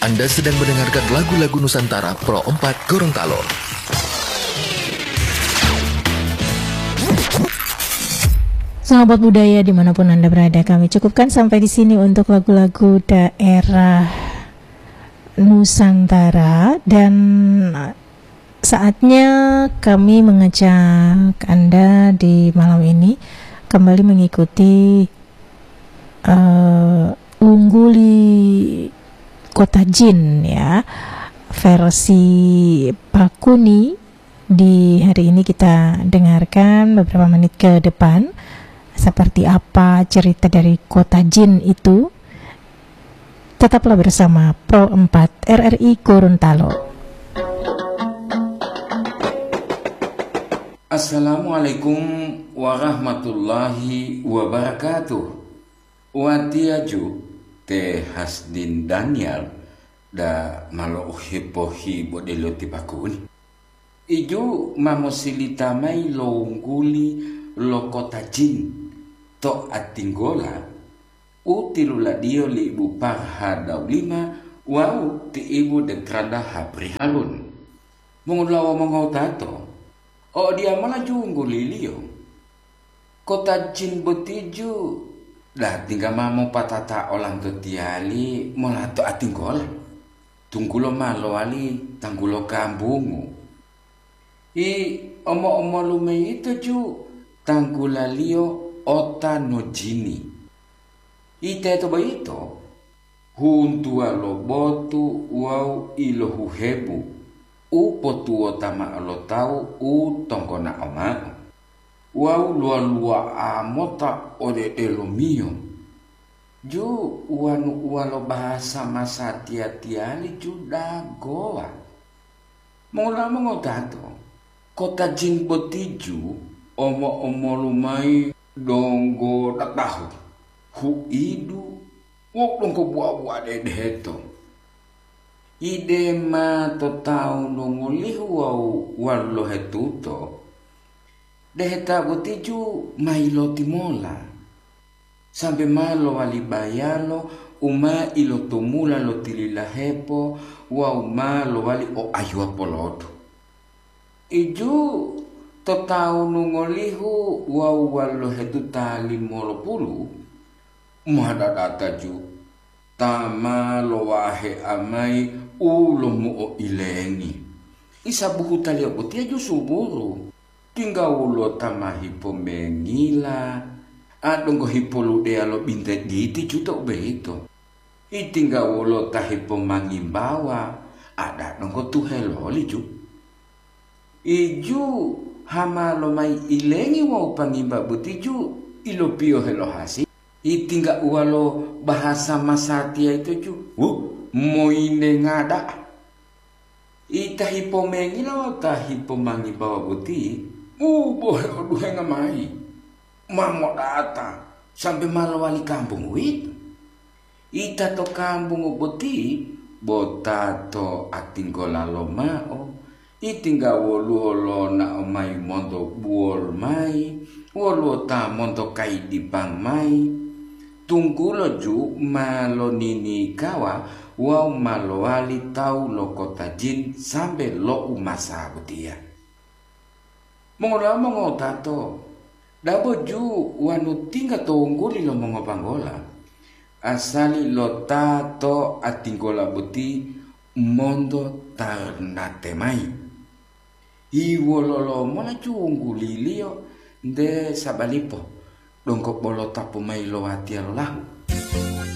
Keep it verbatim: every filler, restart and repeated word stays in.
Anda sedang mendengarkan lagu-lagu Nusantara Pro empat Gorontalo. Sahabat budaya dimanapun Anda berada, kami cukupkan sampai di sini untuk lagu-lagu daerah Nusantara, dan saatnya kami mengajak Anda di malam ini kembali mengikuti eh, Ungguli Kota Jin, ya, versi Pakuni. Di hari ini kita dengarkan beberapa menit ke depan seperti apa cerita dari Kota Jin itu. Tetaplah bersama Pro empat R R I Gorontalo. Assalamualaikum warahmatullahi wabarakatuh. Watiya ju te Hasdin Daniel da ma lo'u hipo-hibo delo ti Pakuni. Iju ma mosilita mayi lo wungguli lo Kota Jin to Atinggola u tiluladiyo li Ibu Parha Daulima wawu ti Ibu Detranda Hapri Harun. Mongulawa mongowutato, o diyamola ju wungguliliyo. Kota Jin boti ju, da tingga ma mopatata olanto tiyali molato Atinggola, tunggulo ma lowali tanggulo kambungu. I omo-omolu mayito ju tanggulaliyo ota no jini. Iteto boyito, huntuwa lo botu wawu ilohuhebu u potuwota ma'o lo tawu u tonggona'o ma'o, wawu luwa-luwa'a mota ode delomiyo. Ju wanu uwa lo bahasa masatiya-tiyali ju dagowa. Mongolamo ngotato, kota jin boti ju omo-omolu mayi donggo datahu, huidu, wawu donggo buwa-buwa dedeheto. Ide ma to tawu nongolihu wawu walolohetuto, deheta boti ju ma yilotimola, sambe ma lowali bayalo u ma ilotomula lo tililahepo wawu ma lowali o ayuwa polodu. Iju to tawu nongolihu wawu walolohetuta limolopulu, ma dadata ju ta ma lowahea mayi u lomuo ilengi. Isa buhutaliyo botiya ju suburu. Tingga woluwo ta ma hipomengila, a donggo hipoludeya lo binte diti ju to u boyito. Itingga wolo ta hipomangimbawa, ada donggo tuheloli ju. Iju hama lomayi ilengi wawu pangimba boti ju ilopiyohe lo hasi. Itingga uwalo bahasa masatiya ito ju, wuh, moyindenga da'a. Ita hipomengila wawu ta hipomangimbawa boti, u bohe oduhenga mayi, ma modata sambe ma lowali kambungu uwito. Ita to kambungu boti bo ta to atinggola lomao, itingga woluwo lonao mayi monto buwol mayi, woluwo ta monto kayidipang mayi, tunggulo ju ma loninikawa wawu ma lowali tawu lo kota jin sambe lo umasa botiya. Mongolamo ngotato, dabo ju wanu tingga to wungguli lo mongobanggola, asali lo ta to atinggola boti monto tarnate mayi. Hiwololo mola ju wungguliliyo nte sabalipo, donggo bolo tapu mayi lo watiya lolahu.